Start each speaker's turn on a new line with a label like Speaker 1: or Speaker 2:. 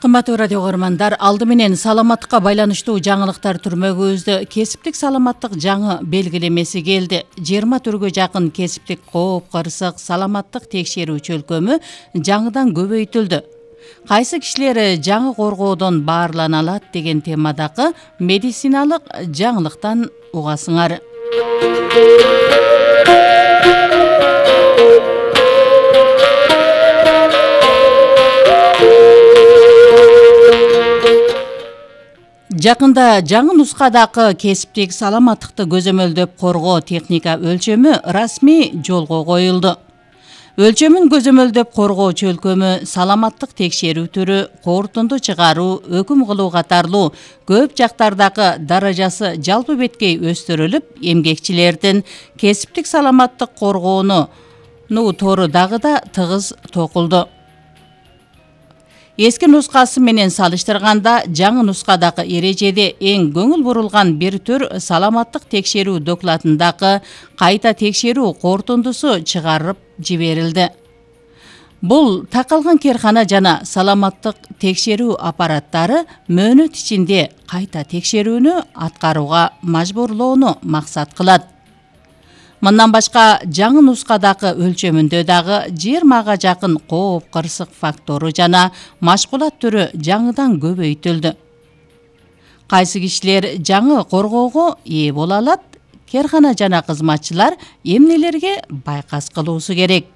Speaker 1: Кымбаттуу радио көрөрмандар, алды менен саламаттыкка байланыштуу жаңылыктар түрмөгүбүздө кесиптик саламаттык жаңы белгилемеси келди. 20 түргө жакын кесиптик кооп кырсык саламаттык текшерүү чөлкөмү жаңыдан көбөйтүлдү. Кайсы кишилер жаңы коргоодон баарлана алат деген темадагы медициналык жаңылыктан угасыңар. Жакында жаңы нускадагы кесиптик саламаттыкты көзөмөлдөп коргоо техника өлчөмү расмий жолго коюлду. Өлчөмүн көзөмөлдөп коргоо чөлкөмү саламаттык текшерүү түрү, корутунду чыгаруу, өкүм кылуу катарлуу көп жактардагы даражасы жалпы беткей өстүрүлүп, эмгекчилердин кесиптик саламаттык коргоону тору дагы да тыгыз токулду. Эски нускасы менен салыштырганда жаңы нускадагы эрежеде эң көңүл бурулган бир түр саламаттык текшерүү докладындагы кайта текшерүү корутундусу чыгарып жиберилди. Бул такалган керкана жана саламаттык текшерүү аппараттары мөөнөт ичинде кайта текшерүүнү аткарууга мажбурлоону максат кылат. Мындан башка жаңы нускадагы өлчөмүндө дагы 20га жакын кооп кырсык фактору жана машкулат түрү жаңыдан көбөйтүлдү. Кайсы кишилер жаңы коргоого ээ боло алат, керкана жана кызматчылар эмнелерге байкас кылуусу керек?